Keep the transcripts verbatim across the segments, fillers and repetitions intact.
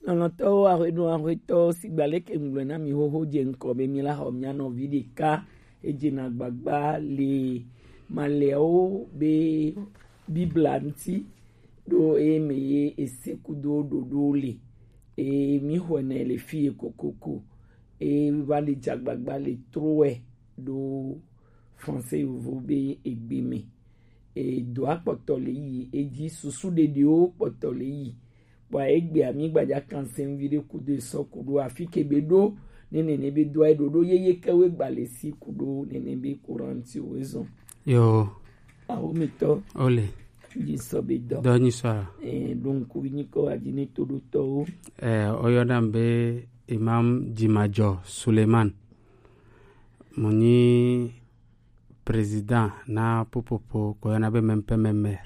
Lɔlɔ̃tɔwo, ahweɖo ahwetɔwo, sigba leke ŋgblɔe na mi xoxo dze ŋkɔ be mi la xɔ mia nɔvi ɖeka. Edze na gbagba le malɛwo be Biblia ŋuti ɖo eye me ye ese kudo ɖoɖo le. Eye mi xɔe nɛ le fi ye kokoko. Eye va le dze agbagba le trowɛ ɖo français yovo be egbe me. Edoa kpɔtɔ le yi edzi, susu ɖeɖiwo kpɔtɔ le yi. Kpɔa egbea mi gbadza kan se ŋvi ɖe kudo esɔ kudo afi ke be ɖo ne nene be doa ɖoɖo yeye ke we gba le si kudo nene be Korintiwo ezɔn. Yo. Awo mitɔ. Ole. Dzi sɔ be dɔ. Dɔ nyi sɔ. Eh, donc, wi nyi kɔ adi ne to ɖo tɔwo. Eh, oyɔna be Imam Dzimadjɔ Suleiman. Mo nyi président na popopo ko yɔna be M P M M R.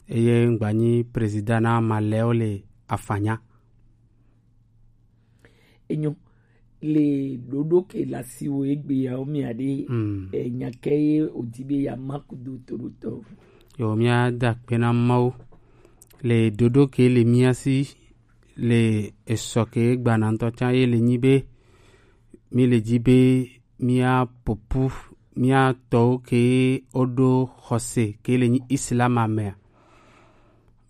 Eye ŋgba nyi président na malɛwo le afanya. Enyo, le ɖoɖo ke le asiwo egbe yawo mia ɖe, mm, enya ke ye odi be ya ma kudo toɖotɔ. Yo, mia da akpe na Mawu le ɖoɖo ke le mia si le esɔ ke gbana ŋutɔ tsã ye le nyi be mi le dzi be mía popu, mía tɔwo ke woɖo xɔse ke le nyi Islam mea,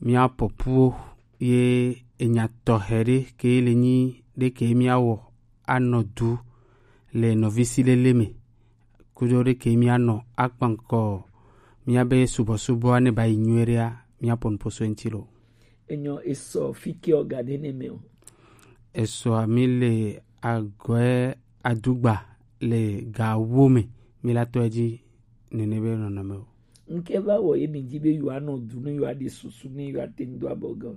mía popuwo ye enya tɔxɛ ɖe ke le nyi ɖe ke mía wɔ anɔ du le nɔvisilele me, kudo ɖe ke mía nɔ akpankɔ mía be subɔsubɔa ne ba yi nyuie ɖea, mía pɔnpo so eŋti lo. Enyo, esɔ fi ke o ga ɖe ne me o. Esɔa mi le agɔe adugba le ga wo me, mi la tɔ edzi nene be nɔnɔme o. Nke va wɔ ye mi dzi be yewoanɔ du ne yewoaɖe susu ne yewoate ŋu do abɔ ge o.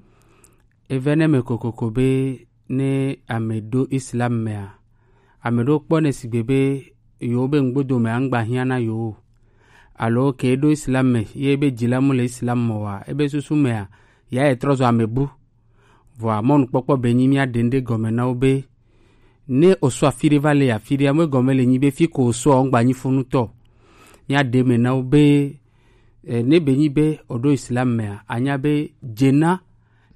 Eve ne me kokoko be ne ame ɖo Islam mea, ame ɖewo kpɔnɛ sigbe be yewo be ŋgbodo mea ŋgba hiã na yewo o. Alo ke ɖo Islam me ye be dzilamu le Islam me wa, ebe susu mea, ya ye trɔ zɔ ame bu. Vɔa mɔnukpɔkpɔ be nyi mía ɖe ŋɖe gɔme na wo be ne osɔ afi ɖe va le afi ɖe, ame gɔme le nyi be fi ko osɔ ŋgba nyi funutɔ. Mía ɖe me na wo be, eh, ne be nyi be oɖo Islam mea, anya be dzena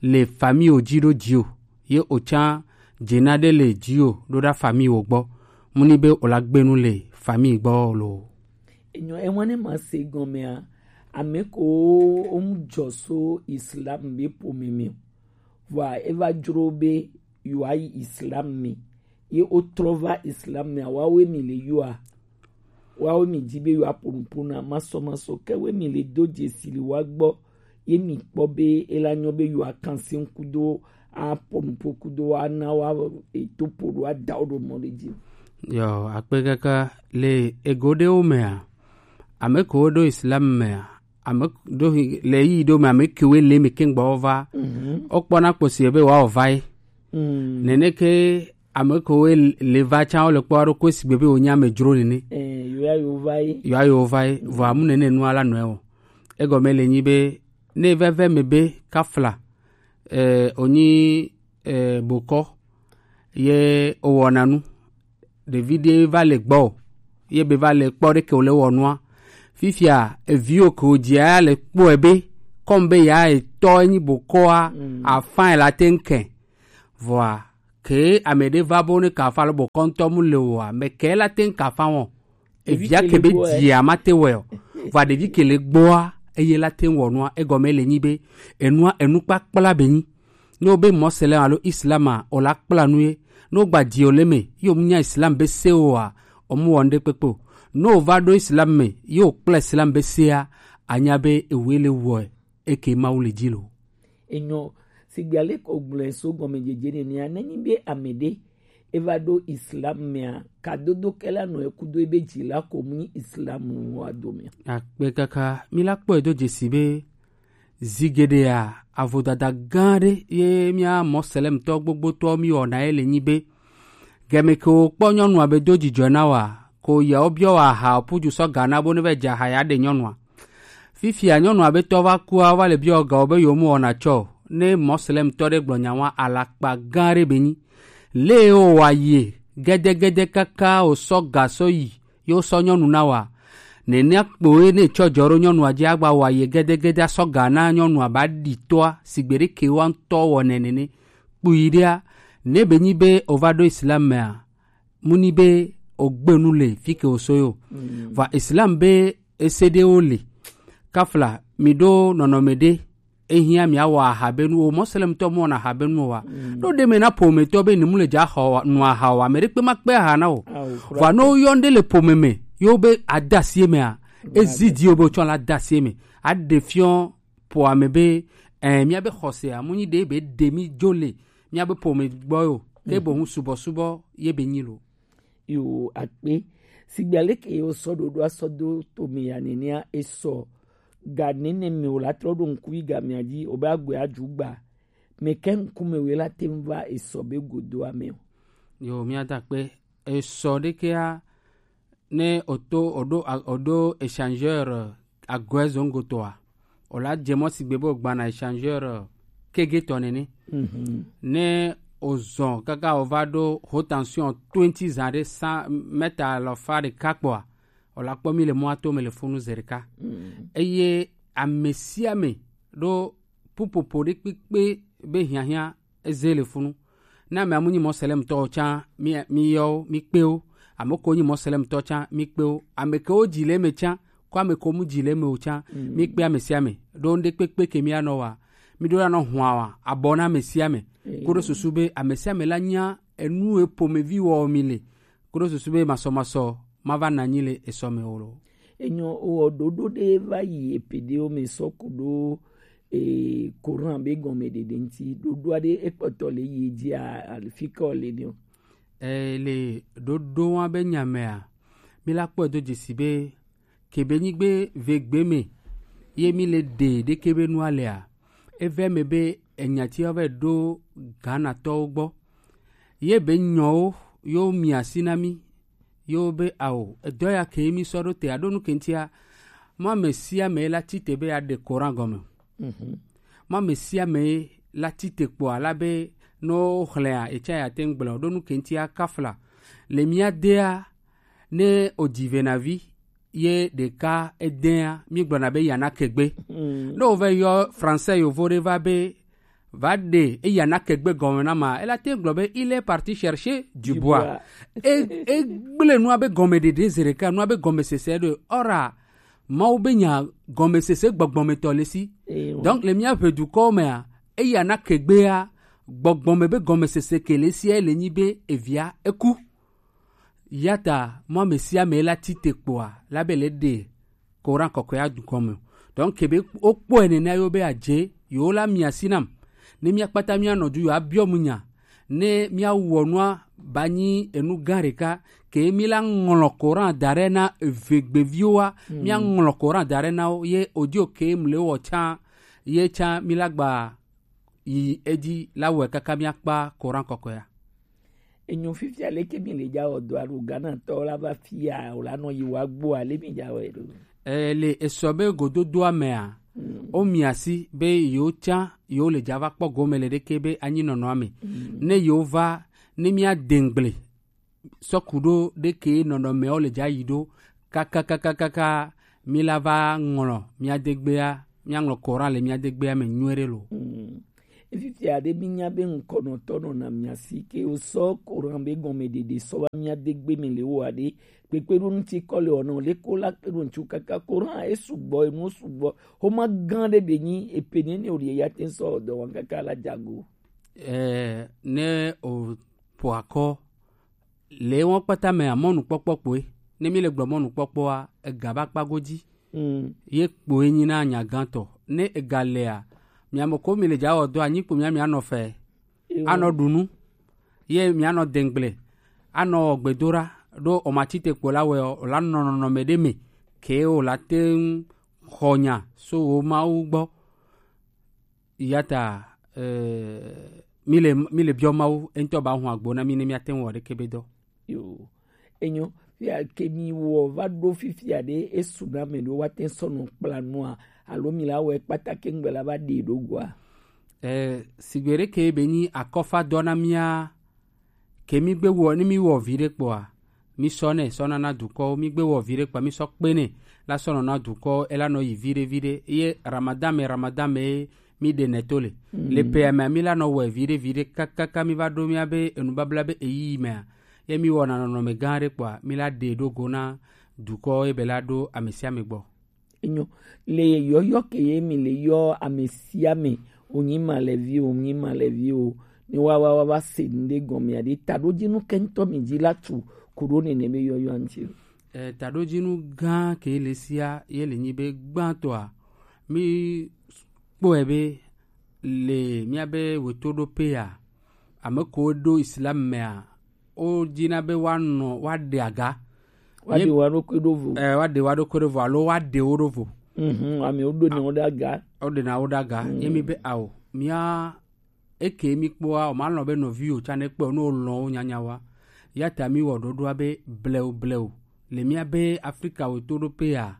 le famille o dzi ɖo dzi o, ye otsã dzena ɖe le dzi o ɖo ɖa famille wo gbɔ. Mu ni be o la gbenu le famille gbɔ lo. Enyo, ewa ne ma se gɔmea, ame ko o mu jɔ so Islam be po me me. Vɔa eva dzro be yewoayi Islam me. Ye wotrɔ va Islam mea, woawoe mi le yɔa. Woawoe mi di be yewoaƒo nuƒo na masɔmasɔ. Ke woe mi le do dzesi le woa gbɔ. Ye mi kpɔ be ela nyɔ be yewoakan se ŋku do aƒo nuƒo kudo ana wa eto ƒo ɖo ada wo ɖo mɔ ɖe dzi. Yo, akpe kaka le ego ɖewo mea, ame ko ɖo Islam mea, ame ɖo hi-, le yi ɖo me ame kewoe le me keŋ gbɔ va. Mhm. Wokpɔna kpɔ si be woawɔ va ye. Mm. Nene ke ame kewoe le va tsã wole kpɔ aɖo ko sigbe be wonye ame dzro nene. Eh, yo ya yo va ye. Yo ya yo va ye. Vɔ amu nene nua la nɔe o. Egɔme le nyi be ne veve me be kafla, eh, onyi, eh, bokɔ ye owɔna nu. Ɖevi ɖe va le gbɔ o, ye be va le kpɔ ɖe ke wòle wɔ nua. Fifia, eviwo ke wòdzia ya le kpɔe be, kɔm be ya etɔ enyi bokɔa, mm, afã la te ŋkɛ. Vɔa, ke ame ɖe va bo ne kafa le bokɔ ŋutɔ mu le oa, me ke la te ŋkafa wɔ. Evia ke be dzia ma te wɛ o. Vɔa ɖevi ke le gbɔa, eye la te wɔ nua, egɔme le nyi be, enua, enu kpakpla be nyi. Ne wobe Moslem alo Islam a, wòle akpla nu ye. Ne wogba dzi wòle me, ye wòmu nya Islam be se oa, wòmu wɔ ŋɖe kpekpe o. Ne wòva ɖo Islam me, ye wòkpla Islam be sea, anya be ewoe le wɔe, eke Mawu le dzi lo. Enyo, sigbe ale ko gblɔe so gɔmedzedze nenea, nenyi be ame ɖe eva ɖo Islam mea, kadodo ke la nɔ ekudo ebe dzi la ko mu nyi Islam wa domea. Akpe kaka, mi la kpɔe do dzesi be zi geɖea, avodada gã aɖe ye mía Moslemtɔ gbogbotɔwo mi wɔna ye le nyi be, gɛme ke wokpɔ nyɔnua be do dzidzɔ na wa, ko yawo biɔ wa aha puju sɔ ga na bo ne va dze aha ya ɖe nyɔnua. Fifia nyɔnua be tɔ va kua, va le biɔ ga wo be yewo mu wɔna tsɔ o. Ne Moslemtɔ ɖe gblɔ nya wa, alakpa gã aɖe be nyi. Le wo wa ye gɛdɛgɛdɛ kaka wosɔ ga sɔ yi, ye wosɔ nyɔnu na wa. Nenea kpoe ne tsɔ dzɔ ɖo nyɔnua dzi agba wa ye gɛdɛgɛdɛ asɔ ga na nyɔnua ba ɖi toa, sigbe ɖe ke wa ŋutɔ wɔ nɛ nene. kpui ɖea, ne be nyi be o va ɖo Islam mea, mu ni be o gbe nu le fi ke o so yo. Va Islam be ese ɖewo le. Kafla, mi ɖo nɔnɔme ɖe, ehiã mi awɔ aha be nu o, mɔslemtɔ mu wɔna aha be nu o wa. Ɖo ɖe me na ƒometɔ be ni mu le dza xɔ wa-, nu aha o, ame ɖekpe ma kpe aha na o. Vɔ ne woyɔ nu ɖe le ƒome me, yo be adasie mea, ezi di o be o tsɔ la adasie me. Aɖe fiɔ ƒo ame be, eh, mía be xɔsea, mu nyi ɖe be ɖe mi dzo le mía be ƒome gbɔ yo, ke boŋ subɔsubɔ ye be nyi lo. Yo akpe, sigbe aleke ye wosɔ ɖoɖoa sɔ do tome ya nenea, esɔ ga nene me o la trɔ ɖo ŋku yi ga mia dzi, o be agbe adzugba, me ke ŋkume we la te ŋu va esɔ be godoa me o. Yo, mía da akpe, esɔ ɖekea, ne o to, o ɖo, o ɖo échangeur, eh, agoe zongotoa, o la dze mɔ sigbe be o gbana échangeur, eh, kegetɔ nene. Ne o zɔn kaka o va ɖo haute tension twenty zã ɖe cent mètres alafa ɖeka kpɔa, o la kpɔ mi le mɔa to me le funu ze ɖeka. Eye ame sia ame ɖo pupopo ɖe kpekpe be hiahiã eze le funu. Ne ame amu nyi mɔselemtɔwo tsã, mi, mi yɔwo, mi kpewo. Ame ko nyi mɔselemtɔ tsã, mi kpewo. Ame kewo dzi le eme tsã, ko ame ko mu dzi le eme o tsã, mi kpe ame sia ame. Ɖo ŋɖe kpekpe ke mi anɔ wa, mi ɖo anɔ hua wa, abɔ na ame sia ame. Ko ɖo susu be ame sia ame la nya enu e ƒomevi wɔ mi le. Ko ɖo susu be masɔmasɔ ma va na anyi le esɔ me o lo. Enyo, o ɖoɖo ɖe va yi epe ɖewo me sɔ ku ɖo, e, Coran be gɔmeɖeɖe ŋuti. Ɖoɖoa ɖe ekpɔtɔ le yi dzi a, ali fi ke le ne o. E, le ɖoɖo wa be nya mea, mi la kpɔe do dzesi be kebe nyigbe ve gbe me ye mi le ɖe ɖeke be nua lea, eve me be enyati wa va ɖo Ghanatɔwo gbɔ. Ye be nyɔwo yo mi asi na mi, yo be ao, edɔ ya ke mi sɔ ɖo te aɖo nu ke ŋutia, mɔ ame sia ame la tite be aɖe Coran gɔme. Mɔ ame sia ame la tite kpɔa la be no xlẽa, etsa ya te ŋgblẽ o, ɖo nu ke ŋutia kafla. Le mía dea, ne o dzi ve na vi, ye ɖeka edea, mi gblɔna be yana kegbe. Ne o va yɔ français yovo ɖe va be, va ɖe eya na kegbe gɔme na ma, ela te gblɔ be, il est parti chercher du bois. E, e gblẽ nua be gɔmeɖeɖe ze ɖeka, nua be gɔmesese ɖo. Ora, Mawu be nya gɔmesese gbɔgbɔmetɔ le si. Donc, le mía ƒe dukɔwo mea, eya na kegbea, gbɔgbɔme be gɔmesese ke le sia le nyi be evia eku. Yata, mɔ ame sia ame la tite kpɔa, la be le ɖe Coran kɔkɔe adu gɔme o. Donc, ke be wokpɔe nena yo be adze, yo la mi asi nam. Ne mía kpata mía nɔ du yo abiɔ mu nya. Ne mía wɔ nua ba nyi enu gã ɖeka, ke mi la ŋlɔ Coran da ɖe na eve gbeviwo wa, mía ŋlɔ Coran da ɖe na wo, ye odio ke mle wɔ tsã, ye tsã mi la gba yi edzi la wɔe kaka mía kpa Coran kɔkɔea. Enyo, fifia leke mi le dza wɔ dɔ alo Ghana tɔ la va fia o la nɔ yi wa gbɔ ale mi dza wɔ ɖo. E, le esɔ be gododoa mea, o mi asi be yo tsã yo le dza va kpɔ gome le ɖeke be anyi nɔnɔ me. Ne yo va, ne mía dengble sɔku ɖo ɖeke nɔnɔmewo le dza yi ɖo, kakakakaka, mi la va ŋlɔ mía degbea, mía ŋlɔ Coran le mía degbea me nyuie ɖe lo. Fifia ɖe mi nya be ŋkɔnɔtɔ nɔna mia si ke wosɔ Coran be gɔmeɖeɖe sɔ va mía degbe me le wo aɖe, kpekpeɖo ŋuti kɔ le wɔna o, le ko la kpe ɖo ŋuti kaka Coran e sugbɔ, enu sugbɔ, xoma gã ɖe be nyi epe nene o le ya te sɔ dɔ wɔn kaka la dzago. Eh, ne o po akɔ le wɔn kpata mea, mɔnukpɔkpɔ kpoe. Ne mi le gblɔ mɔnukpɔkpɔa, ega va kpa godzi. Ye kpoe nyi na nya gãtɔ. Ne ega lea, mia me ko mi le dza wɔ dɔ anyi kpo mia mia nɔ fɛ. Anɔ ɖu nu. Ye mia nɔ dengble. Anɔ wɔ gbedoɖa. Ɖo o ma tite kpo la wɛ o, o la nɔ nɔnɔme ɖe me. Ke o la te ŋu xɔ nya so wo Mawu gbɔ. Yata, eh, mi le, mi le biɔ Mawu, eŋutɔ ba hun agbo na mi ne mia te ŋu wɔ ɖeke be dɔ. Yo, enyo, fia ke mi wɔ va ɖo fifia ɖe, esu na me ɖo wa te sɔ nɔ kpla nua, alo mi la wɔ kpata ke ŋgbe la va ɖe ɖo goa. Eh, sigbe ɖeke be nyi akɔfa dɔ na mia, ke mi gbe wɔ, ne mi wɔ vi ɖe kpɔa, mi sɔ nɛ sɔ na na dukɔwo, mi gbe wɔ vi ɖe kpɔa, mi sɔ kpe nɛ la sɔ nɔ na dukɔwo, ela nɔ yi vi ɖe vi ɖe. Ye Ramadan me, Ramadan me, Mi ɖe nɛ to le. Le pe ya mea, mi la nɔ wɛ viɖe viɖe kakaka mi va ɖo mia be enubabla be eyi mea, ye mi wɔna nɔnɔme gã ɖe kpɔa, mi la ɖe ɖo go na dukɔ ye be la ɖo ame sia ame gbɔ. Enyo, le yɔyɔ ke ye mi le yɔ ame sia ame, wonyi malɛvi o, wonyi malɛvi o, ne wa wa wa wa se nu ɖe gɔme aɖe, taɖodzinu ke ŋutɔ mi dzi la tu ku ɖo nene be yɔyɔ ŋuti o. E, taɖodzinu gã ke le sia ye le nyi be gbãtɔa, mi kpɔe be le mia be wetoɖoƒea, ame ko ɖo Islam mea, wo dina be woanɔ woaɖe aga. Woaɖe wo ɖokui ɖo vo. Eh, woaɖe wo ɖokui ɖo vo alo woaɖe wo ɖo vo. Mhm, ame wo ɖo na wo ɖe aga. Wo ɖe na wo ɖe aga. Mm. Ye mi be ao, mia eke mi kpɔa, o ma lɔn be nɔvi o tsa ne kpɔ no lɔn wo nyanya wa. Ya ta mi wɔ ɖoɖoa be bleu bleu. Le mia be Afrika wetoɖoƒea,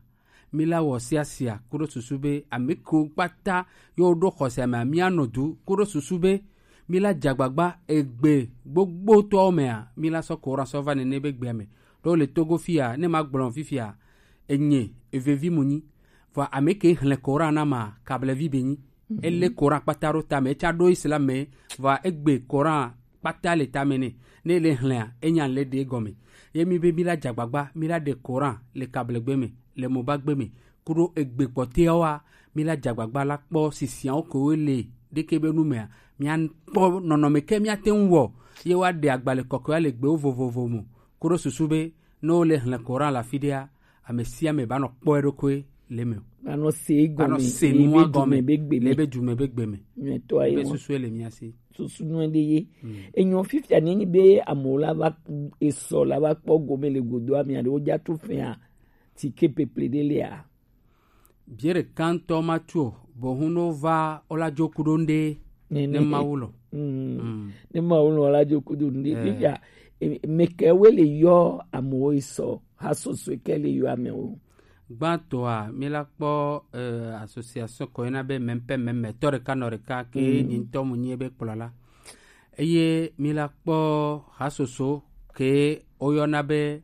mi la wɔ siasia kuɖo susu be ame kewo kpata yewo ɖo xɔse mea, mia nɔ du kuɖo susu be mi la dze agbagba egbe gbogbotɔwo mea, mi la sɔ Coran sɔ va nene be gbea me. Ɖo le Togo fia, ne ma gblɔ fifia, enye evevi mu nyi. Vɔ ame ke hlẽ Coran na ma kablevi be nyi. Ele Coran kpata ɖo tame, etsa ɖo Islam me, vɔ egbe Coran kpata le tame nɛ. Ne ele hlẽa, enya le ɖe gɔme. Ye mi be mi la dze agbagba, mi la ɖe Coran le kablegbe me, le mobagbe me, kuɖo egbe kpɔtɛawoa, mi la dze agbagba la kpɔ sisiawo ke wo le ɖeke be nu mea, mia kpɔ nɔnɔme ke mia te ŋu wɔ, ye wa ɖe agbalẽ kɔkɔea le gbewo vovovo mo, kuɖo susu be ne wo le hlẽ Coran le afi ɖea, ame sia ame ba nɔ kpɔ eɖokui le eme o. Ba nɔ se egɔme, ba nɔ se nua gɔme be gbe me, le be du me be gbe me. Nyuitɔ ye be susu le mia si. Susu nu ɖe ye. Mm. Enyo fifia ne nyi be amewo la va esɔ la va kpɔ gome le godo amia ɖewo dza tu fɛa ti ke peple ɖe lea. Bie ɖeka ŋutɔ ma tu o, bohun no va o la dzo ku ɖo ŋɖe ne Mawu lɔ. Mm. Mm. Ne Mawu lɔ la dzo ku ɖo ŋɖe. Eh. Fifia, e, meke we le yɔ amewo esɔ, ha soso ke le yɔ amewo. Gbãtɔa, mi la kpɔ, eh, association ko yɔna be mɛmpɛ mɛmɛ tɔ ɖeka nɔ ɖeka ke nyi ŋutɔ mu nyi ebe kplɔla. Eye mi la kpɔ hasoso ke woyɔna be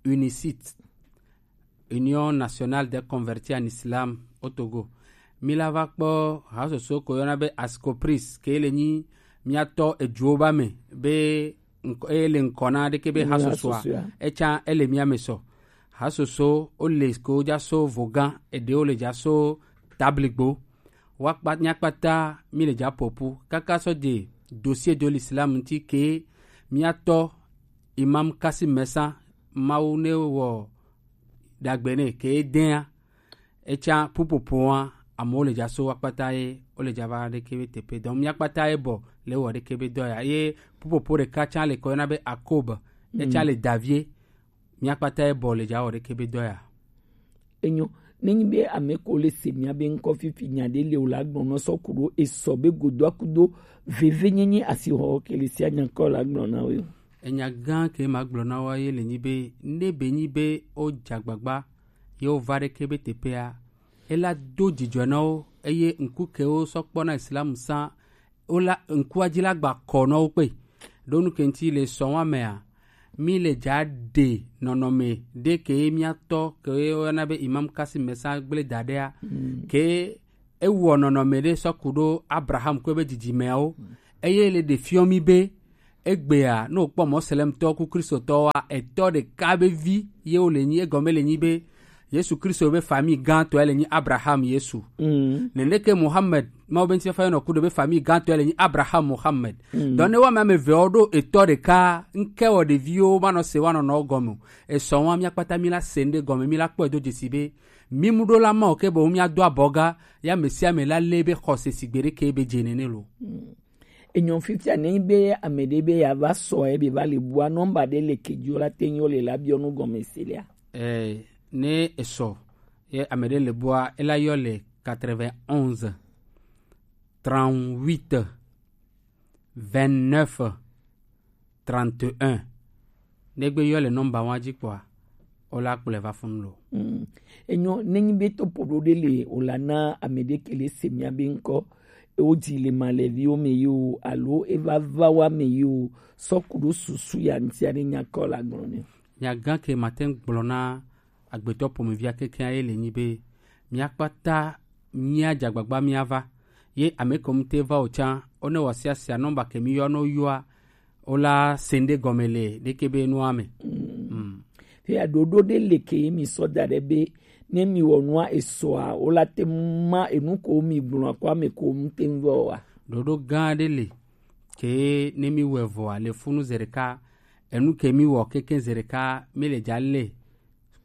UNICIT, Union Nationale des Convertis en Islam au Togo. Mi la va kpɔ hasoso ko yɔna be Ascopris ke le nyi miatɔ eduwo ba me be ŋkɔ, eye le ŋkɔ na ɖeke be hasosoa, hasosoa. Etsa ele mia me sɔ. Hasoso, wo le ko dza so Vogan, eɖewo le dza so Tabligbo. Wa kpa, mia kpata mi le dza popu. Kaka sɔ de dossier de l'islam ŋuti ke miatɔ Imam Kasim Mesa, Mawu ne wɔ dagbe ne ke dea. Etsa pupopoa, amewo le dza so wa kpata ye, wo le dza va ɖeke be teƒe. Donc, mia kpata ye bɔ le wɔ ɖeke be dɔ ya. Ye pupopo ɖeka tsa le kɔ yɔna be Akob, etsa le davie, mia kpata ye bɔ le dza wɔ ɖeke be dɔ ya. Enyo, ne nyi be ame ko le se mia be ŋkɔ fifi nya ɖe le o la gblɔ nɔ sɔ ku ɖo esɔ be godo akudo veve nyenye asixɔ ke le sia nya kɔ la gblɔ na wo. Enya gã ke ma gblɔ na wo ye le nyi be, ne be nyi be o dza gbagba ye wova ɖeke be teƒea, ela do dzidzɔ na wo, eye ŋku ke wo sɔ kpɔ na Islam sã, wola ŋkua dzi la gba kɔ na wo kpe. Ɖo nu ke ŋuti le sɔ wa mea, mi le dza ɖe nɔnɔme ɖe ke ye mia tɔ ke ye woyɔna be Imam Kasim Mesa gble da ɖea, ke ewɔ nɔnɔme ɖe sɔ ku ɖo Abraham ko be dzidzimeawo, eye le ɖe fiɔ mi be egbea, ne wòkpɔ Moslemtɔwo ku Kristotɔwoa, etɔ ɖeka be vi ye wòle nyi, egɔme le nyi be Yesu Kristo be famille gãtɔe le nyi Abraham Yesu. Mm. Neneke Muhammad, Mawu be ŋutifafa yɔnɔ ku ɖe be famille gãtɔe le nyi Abraham Muhammad. Mm. Donc ne woame ame eveawo ɖo etɔ ɖeka, ŋke wɔ ɖeviwo manɔ se woanɔnɔwo gɔme o. Esɔ wa mia kpata mi la se ŋɖe gɔme, mi la kpɔe do dzesi be mi mu ɖo la ma o ke boŋ mia do abɔ ga, ya ame sia ame la le be xɔse sigbe ɖeke be dze nene lo. Mm. Enyɔ fifia ne nyi be ame ɖe be ya va sɔ ye be va le bua nɔmba ɖe le ke dzi o la te nyi o le la biɔ nu gɔme se lea. Eh, ne esɔ ye ame ɖe le bua, ela yɔ le quatre-vingt-onze, trente-huit, vingt-neuf, trente et un. Ne gbe yɔ le nɔmba wa dzi kpɔa, o la kplɔe va funu lo. Mm. Enyo, ne nyi be topo ɖo ɖe le o la na ame ɖe ke le se mia be ŋkɔ, e wo dzi le malɛviwo me yi o, alo e va va wa me yi o, sɔ ku ɖo susu ya ŋutia ne nya kɔ la gblɔ ne. Nya gã ke ma te ŋu gblɔ na agbetɔ pomevia kekeŋ ye le nyi be, mia kpata mia dze agbagba mia va. Ye ame ko mu te va o can, o ne wa sia sia nɔmba ke mi yɔ no yɔa, o la sende gɔme le ɖeke be nua me. Mm. Fia ɖoɖo ɖe le ke mi sɔ da ɖe be ne mi wɔ nua esɔa, o la te ma enu ko mi gblɔ ko ame ko mu te vɔ wa. Ɖoɖo gã ɖe le ke ne mi wɔ vɔa le funu zereka, enu ke mi wɔ keke zereka mi le ja le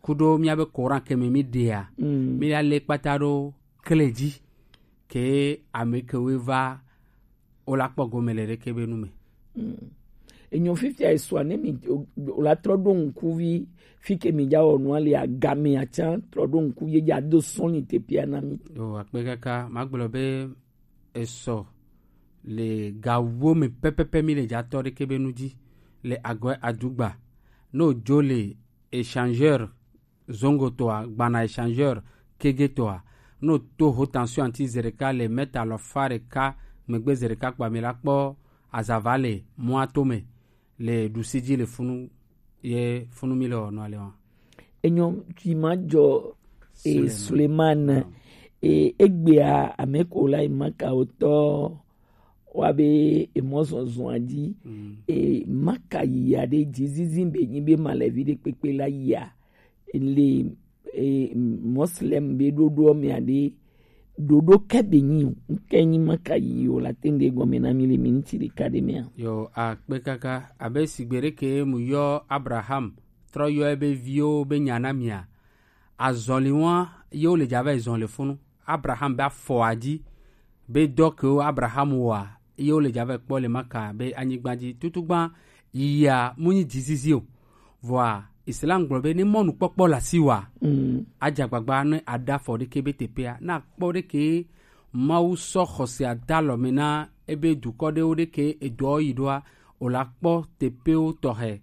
kuɖo míabe Coran ke me mi ɖea, mm, mi la le kpata ɖo kle dzi, ke ame kewoe va o la kpɔ gome le ɖeke be nu me. Mm. Enyo fifia esua ne mi o, o la trɔ ɖo ŋkuvi fi ke mi ja wɔ nua le agame atsa trɔ ɖo ŋkuvi ja do sɔn ni te pia na mi. O akpe kaka, ma gblɔ be esɔ le gawo me pɛpɛpɛ mi le ja tɔ ɖeke be nu dzi le agɔe adugba. No jo le échangeur zongo toa, gbana échangeur kege toa, no to haute tension anti zereka le mètre alɔfa ɖeka megbe zereka kpa mi la kpɔ azava le mɔa to me le ɖusi dzi le funu ye funu mi le wɔ nua le wa. Enyo tsi ma jɔ e Suleiman. Suleiman. E egbea ame ko la e maka wotɔ wa be emɔ zɔzɔa dzi. Mm. E maka yia ɖe dzi zizi be nyi be ma le vi ɖe kpekpe la yia le e, Moslem be ɖoɖoɔ mea ɖe ɖoɖo ke be nyi o. Ŋke nyi maka yi o la te ŋɖe gɔme na mi le miniti ɖeka ɖe mea. Yo akpe kaka abe sigbe ɖe ke mu yɔ Abraham trɔ yɔ ebe viwo be nya na mia. Azɔli wa ye wo le dza va yi zɔn le funu. Abraham be afɔ adzi be dɔ kewo Abraham wɔa ye wo le dza va yi kpɔ le maka be anyigba dzi tutugba yia mu nyi dzizizi o. Vɔa Islam gblɔ be ne mɔnukpɔkpɔ le asi wa, mm, adze agbagba ne aɖe afɔ ɖeke be teƒea, ne akpɔ ɖeke Mawu sɔ xɔse ada alɔ me na ebe dukɔ ɖewo ɖeke edɔ yi ɖoa, o la kpɔ teƒewo tɔxɛ.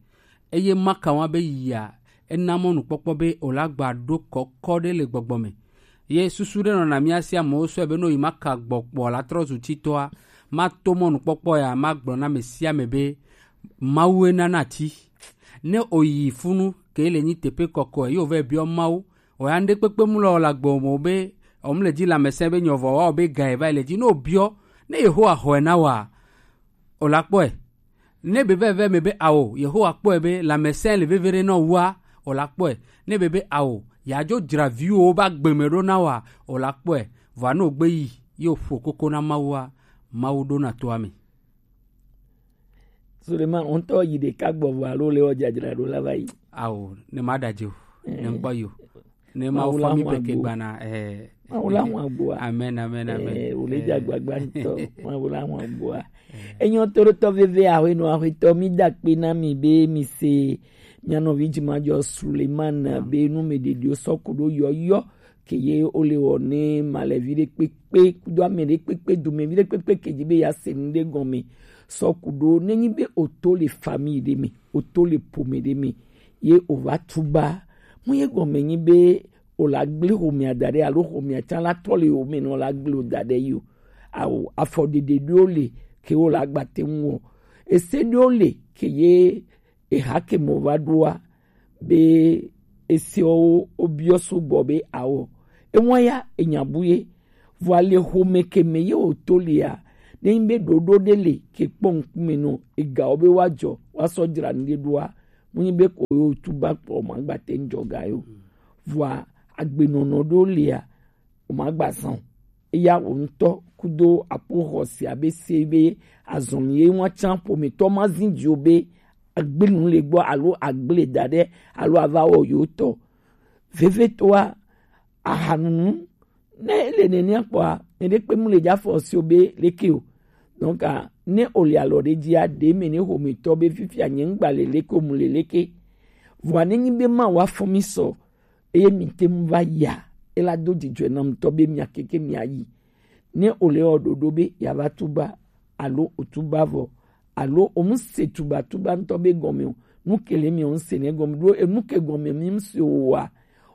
Eye maka wa be yia, ena mɔnukpɔkpɔ be o la gba ɖo kɔkɔ ɖe le gbɔgbɔ me. Ye susu ɖe nɔna mía si amewo sɔe be ne wo yi maka gbɔ kpɔ la trɔ zu titɔa, ma to mɔnukpɔkpɔ ya ma gblɔ na ame sia ame be Mawu ena na ti. Ne o yi funu ke le nyi teƒe kɔkɔe, ye o va biɔ Mawu. O ya ŋɖe kpekpe mu lɔ la gbe o mo be o mu le dzi lãmesẽ be nyɔvɔ wa o be ga e va yi le dzi. Ne o biɔ ne Yehowa xɔe na wa, o la kpɔe. Ne be veve me be ao, Yehowa kpɔe be lãmesẽ le veve ɖe nɔ wua, o la kpɔe. Ne be be ao, ya dzo dzra viwo ba gbe me ɖo na wa, o la kpɔe. Vɔa ne o gbe yi, ye o ƒo koko na Mawua, Mawu ɖo na toa me. Suleiman, o ŋutɔ yi ɖeka gbɔ vɔ alo le wɔ dzadzra ɖo la va yi? Ao, ne ma ɖadze o, ne ŋkpɔ yi o. Ne Mawu fɔ mi be ke gbana, eh. Mawu la ŋu agboa. Amen, amen, amen. Eh, o le dza gbagba ŋutɔ. Mawu la ŋu agboa. Enyo toɖotɔ veve aƒenɔ aƒetɔ mi da kpe na mi be mi se mia nɔvi dzimadzɔ Suleiman be nu me ɖeɖiwo sɔ ku ɖo yɔyɔ ke ye o le wɔ ne ma le vi ɖe kpekpe kudo ame ɖe kpekpe dome vi ɖe kpekpe ke dzi be ya se nu ɖe gɔme sɔ ku ɖo ne nyi be o to le famille ɖe me, o to le ƒome ɖe me ye o va tuba. Mu ye gɔme nyi be o la gble xomea da ɖe alo xomea tsã la trɔ le o me nɔ la gble o da ɖe yi o. Ao afɔɖeɖe ɖewo le ke wo la gba te ŋu wɔ. Ese ɖewo le ke ye eha ke mɔ va ɖoa be esewo wo biɔ sugbɔ be ao. Ewa ya enya bu ye. Vɔa le xome ke me ye o to lia, ne nyi be ɖoɖo ɖe le ke kpɔ ŋkume nɔ egawo be wa jɔ wa sɔ dzra nu ɖe ɖoa, mu nyi be ko yo tuba kpɔ ma gba te ŋdzɔ ga yo. Vɔa agbenɔnɔ ɖo lia, o ma gba zan o. Eya o ŋutɔ kudo akpo xɔse abe se be azɔn ye wa tsan ƒometɔ ma zin dzi o be agble nu le gbɔ alo agble da ɖe alo ava wɔ yo tɔ. Vevetoa ahanunu ne ele nenea kpɔa, mɛ ɖe kpe mu le dza fɔ si o be leke o. Donc, ah, ne o le alɔ ɖe dzia, ɖe me ne xometɔ be fifia nye ŋgba le leke o mu le leke. Vɔa ne nyi be ma wa fɔ mi sɔ, eye mi te ŋu va yia, ela do dzidzɔe na ŋutɔ be mia keke mia yi. Ne o le wɔ ɖoɖo be ya va tuba, alo o tuba vɔ, alo o mu se tubatuba ŋutɔ be gɔme o, nu ke le mi o mu se ne gɔme ɖo, enu ke gɔme mi mu se o wa,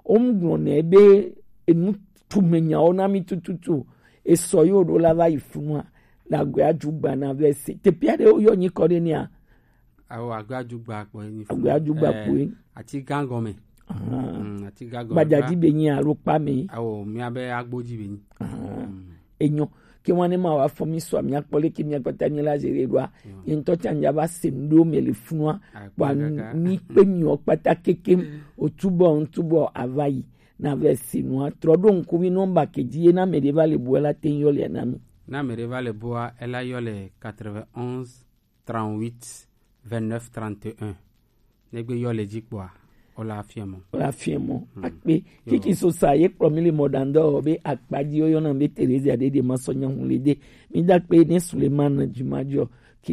o mu gblɔ nɛ be enu tume nyawo na mi tututu o, esɔ yo ɖo la va yi funua, la gbe aju gba na vɛ se. Teƒe aɖe wo yɔ nyikɔ ɖe nea? Awo, agbe aju gba kpɔ enyi funu. Agbe aju gba kpɔ enyi. Ati gã gɔme. Ahan. Mm, ati gã gɔme. Gbadza dzi be nyi alo kpa me. Awo, mia be agbo dzi be nyi. Ahan. Mm. Enyo. ke wane ma wa fɔ mi sɔ mi akpɔ leke mi akpata mi la zere ɖoa. Ye ŋutɔ tsa nya va se nu ɖo me le funua. Wa mi kpe mi wɔ kpata keke. O tubɔ ŋutubɔ ava yi na vɛ se nua trɔ ɖo ŋku mi nɔmba ke dzi ye na me ɖe va le bua la te yɔ le na mi. Na me ɖe va le bua ela yɔ le quatre-vingt-onze trente-huit vingt-neuf trente-et-un. Negbe yɔ le dzi kpɔa, o la fiɛ mɔ. O la fiɛ mɔ. Akpe. Kiki so sa ye kplɔ mi le mɔ dan dɔ be akpadzi o yɔna be Teresa ɖe ɖe ma sɔ nya hu le de. Mi da kpe ne Suleiman Jumajɔ ke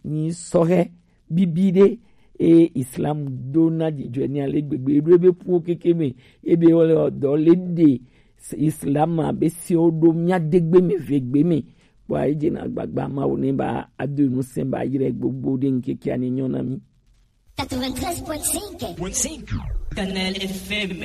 ni sɔhɛ bibi ɖe e Islam do na dzidzɔ ni ale gbegbe ɖo ebe puwo keke me ebe wole dɔ le de Islam abe si o ɖo mia de gbe me ve gbe me. Kpɔ ayi dze na gbagba ma wo ne ba ado nu se ba yire gbogbo ɖe ŋkeke ani nyɔ na mi. Quatre-vingt-treize point cinq. Canal F M.